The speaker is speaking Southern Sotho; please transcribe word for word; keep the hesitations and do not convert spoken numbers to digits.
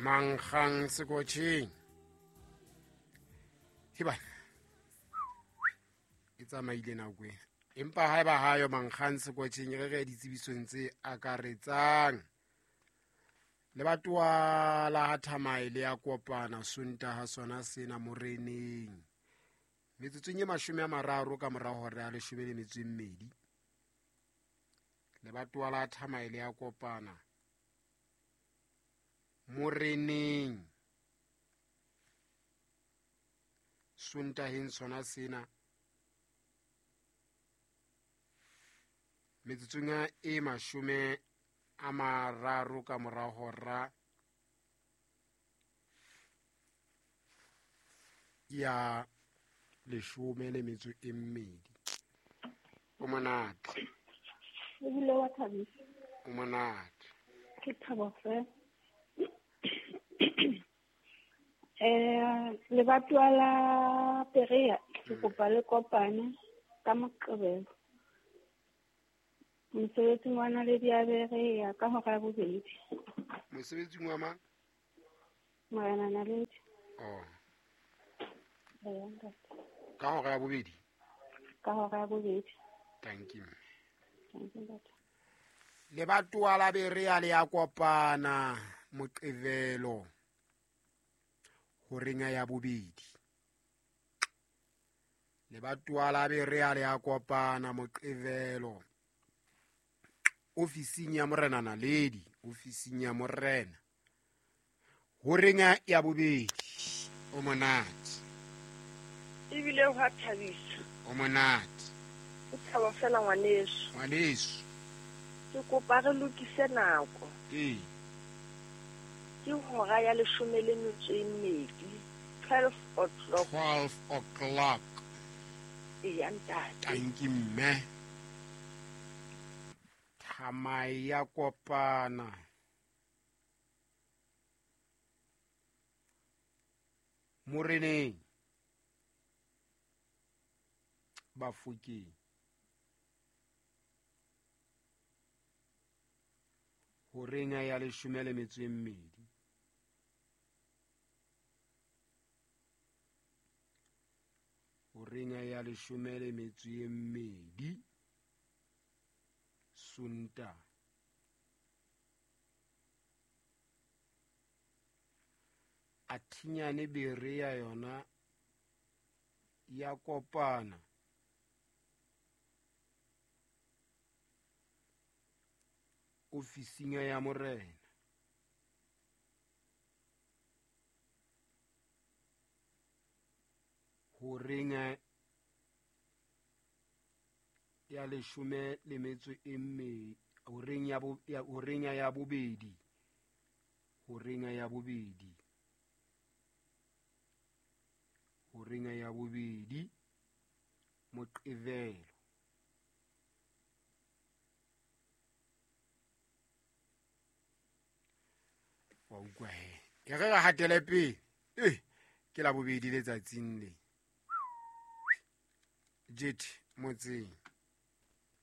Mankgang sekotjheng. Heba. E tsamaile nako e. Empa haeba hayo mankgang sekotjheng re re ditsebisong tse akaretsang. Lebatowa la ha Thamae le ya kopana Sontaha sona sena moreneng. Metsotsong e mashome a mararo ka mora hora ya leshome le metso e mmedi. Lebatowa la Thamae le ya kopana moreneng Sontaheng sona sena metsotsong e mashome a mararo ka mora hora ya leshome le metso e mmedi. O monate. Ebile wa thabisa. O monate. Ke thabo fela. Eh, lebatowa la Perea ke kopa le kopane ka Moqebelo. Mosebetsing wa Naledi ya Berea ka hora ya bobedi. Mosebetsing wa mang? Morena Naledi. Oh. Eya, ntate. Ka hora ya bobedi? Ka hora ya bobedi. Thank you. Thank you, ntate. Lebatowa la Berea le ya kopana Moqebelo horeng ya bobedi. Lebatowa la Berea le ya kopana Moqebelo ofising ya Morena Naledi, ofising ya Morena horeng ya bobedi. O monate. Ebile ho thabisa. O monate. O thaba fela ngwaneso. Ngwaneso. Ke kopa re lokise nako. Ee. Ke hora ya leshome le metso e mmedi, twelve o'clock. twelve o'clock. Eya, ntate. Thank you, mme. Thamae ya kopana moreneng Bafokeng horeng ya leshome le metso e mmedi. Horeng ya leshome le metso e mmedi Sontaha. Athinyane Berea yona ya kopana ofising ya Morena horeng ya leshome le metso e mmedi, horeng ya bo, ya horeng ya bobedi, horeng ya bobedi, horeng ya bobedi Moqebelo. Wa utlwa he. E re re hatele pele. Eh, ke la bobedi letsatsing le. Jet motseng.